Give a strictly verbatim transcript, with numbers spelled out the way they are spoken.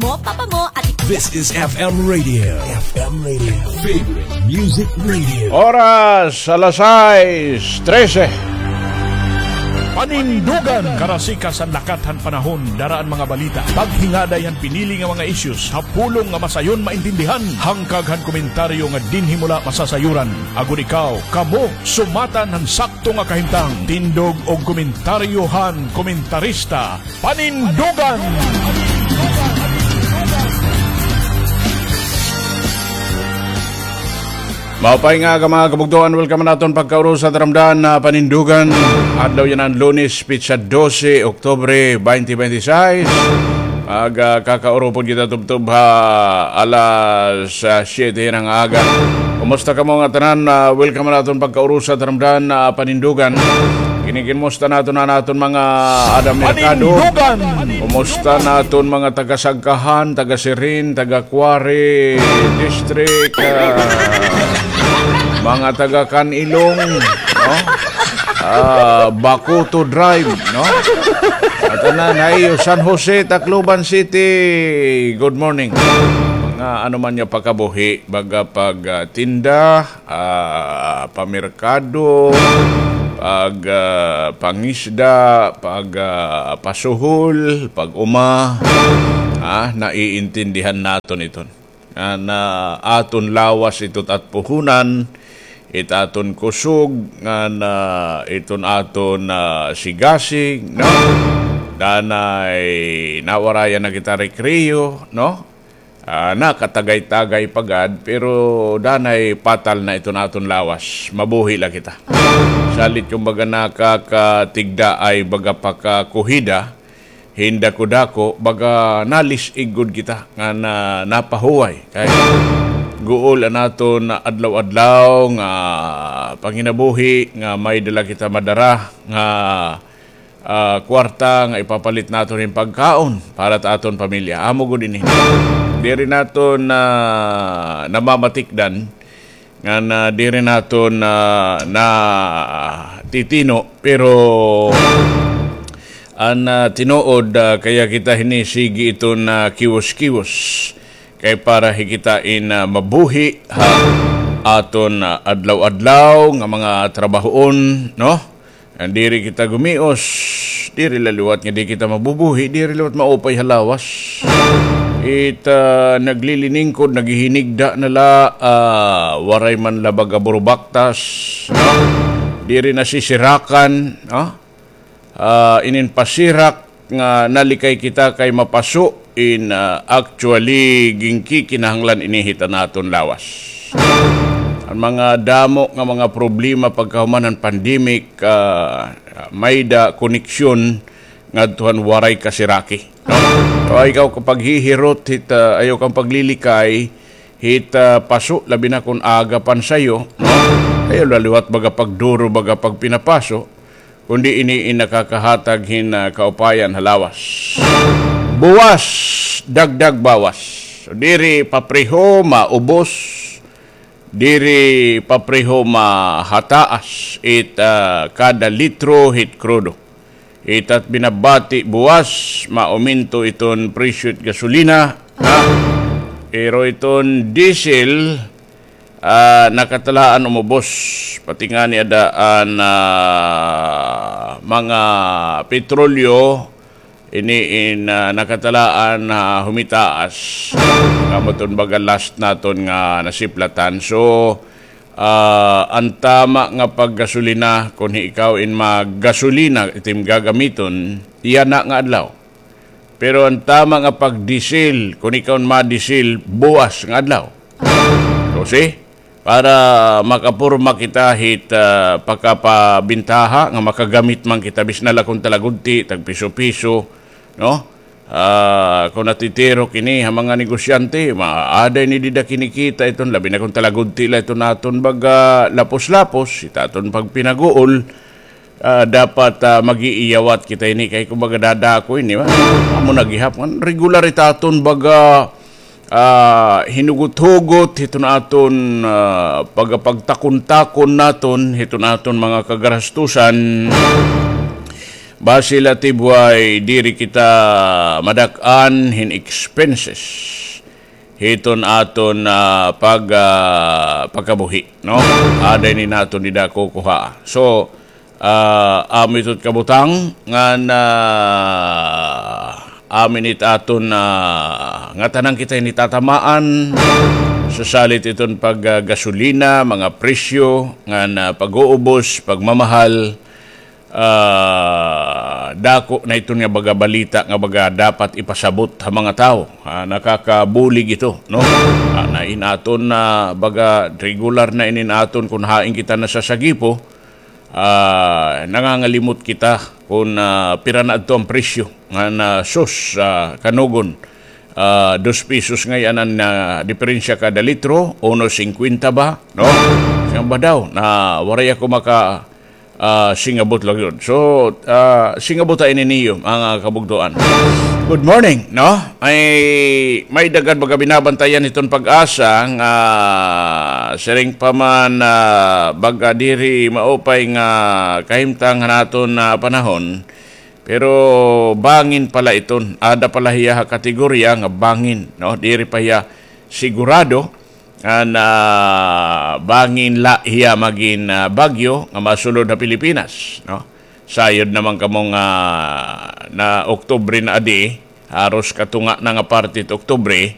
Papa mo, ati. This is F M Radio. F M Radio. Favorite Music Radio. Oras, alas sais trese. Panindugan. Karasikas han lakat han panahon, dara an mga balita. Paghingaday han pinili nga mga issues, ha pulong nga masayon maintindihan. Hangkag han komentaryo nga dinhi mo la masasayuran. Agod ikaw, kamo, sumatan han sakto nga kahimtang. Tindog og komentaryo han komentarista. Panindugan! Maupay nga aga, mga kabugtoan. Welcome han aton pagkaurusa taramdan na Panindugan. Adlaw yana han Lunes, petsa dose, Oktubre, twenty twenty-six. Magkakaurupod kita tubtob ha alas, ah, siyete hin aga. Kumusta kamo nga tanan? Ah, welcome han aton pagkaurusa taramdan na Panindugan. Kini, kinumusta naton an aton mga ada merkado? Panindugan! Kumusta naton mga taga-Sagkahan, taga-Sirin, taga-Quarry District, ah, mga taga-Canilong, no? Ah, Bacoto Drive, no? At tanan ha iyo, San Jose, Tacloban City, good morning. Mga ano man nga pakabuhi, baga pag, ah, tinda, ah, pamerkado, pag, ah, pangisda, pag, ah, pasuhol, pag-uma, ah, naiintindihan naton iton. Nga na aton lawas ito it at puhunan, it aton kusog, nga na iton aton, ah, sigasig, no? Danay nawarayan na kita rekreyo, no? Ah, nakatagay-tagay pa gad, pero danay patal na iton aton lawas. Mabuhi la kita. Salit kumbaga nakakatigda ay baga pakakuhida, hin dako-dako, baga nalis-ig gud kita nga na, napahuway. Kay guol an aton adlaw-adlaw nga panginabuhi nga may-ada la kita madara nga ah, kwarta nga ipapalit naton hin pagkaon para ta aton pamilya. Amo gud ini. Diri naton na namamatikdan nga na diri naton na, natitino, pero an, ah, tinuod, ah, kaya kita hini sige iton, ah, kiwos-kiwos. Kay para hi kita in, ah, mabuhi ha aton, ah, adlaw-adlaw nga mga trabahoon, no? Nga diri kita gumios, diri la liwat nga di kita mabubuhi, diri liwat maupay ha lawas. It, ah, nagliliningkod, naghihinigda na la, ah, waray man la baga burubaktas, no? Diri nasisirakan, no? Ah, inin pasirak nga nalikay kita kay mapaso in, ah, actually, ginkikinahanglan ini hit an aton lawas. An mga damo nga mga problema pagkahuman han pandemic, ah, may-ada koneksyon ngadto han waray kasiraki, no? So, ayaw ka paghihirot hit, ah, ayaw kang paglilikay hit, ah, paso, labi na kon aga pa an sayo, no? Ayaw la liwat baga pagduro, baga pagpinapaso. Kundi ini in nakakahatag hin, ah, kaupayan ha lawas. Buwas, dagdag bawas. So, diri papreho maubos, diri papreho mahataas it, ah, kada litro hit krudo. It at binabati buwas, mauminto iton presyo it gasolina, ha? Pero iton diesel, ah, nakatalaan umubos, pati ngani ada an, ah, mga petrolyo, ini in, ah, nakatalaan, ah, humitaas. Kamo iton baga last naton nga nasiplatan. So, ah, an tama nga paggasolina, kon ikaw in maggasolina, it im gagamiton, yana nga adlaw. Pero an tama nga pagdisil, kon ikaw in madisil, buwas nga adlaw. So, see? Para makaporma kita hit, ah, pakapabintaha nga makagamit man kita, bisan la kon talagudti, tagpiso-piso, no? Ah, kon natitirok ini ha mga negosyante, maaada ini dida kinikita iton, labi na kon talagudti la iton aton baga lapos-lapos, it aton pagpinaguol, ah, dapat, ah, mag-iiyawat kita ini kay kumbaga dadako ini, ba? Amo na gihap, regular it aton baga, ah, hinugot-hugot hiton aton, ah, pagapagtakon-takon naton hiton aton mga kagarastusan. Basi la tibway diri kita madak-an hin expenses hiton aton, ah, pag, ah, pagkabuhi, no? Aday ni naton dida kukuha. So, ah, amo ito kabutang ngan, ah, amo ini it aton, ah, ngatanan kita ini tatamaan sa salit iton pag, ah, gasolina, mga presyo ngan, ah, pag-uubos, pagmamahal. Ah, dako na iton nga baga balita nga baga dapat ipasabot ha mga tawo. Ah, nakakabulig ito, no? Ah, na in aton na baga regular na inin aton kun hain kita nasasagipo, ah, nangangalimot kita kun, ah, pira na adto an presyo nga na sus, ah, kanugon. Ah, dos pesos ngay-an an, ah, diferensya kada litro, uno singkwenta ba, no? Siya ba daw na waray ako maka ah, singabot la gud. So, ah, singabot ta ini niyo, mga kabugtoan. Good morning, no? Ay, may daghan baga binabantayan hiton PAGASA nga siring pa man, ah, baga diri maupay nga kahimtang han aton, ah, panahon. Pero bangin pala iton, ada pala hiya ha kategorya nga bangin, no? Diri pa hiya sigurado. An, ah, bangin la hiya magin, ah, bagyo nga masulod ha Pilipinas, no? Sayod naman kamo nga na Oktubre na adi, haros katunga na nga parte it Oktubre,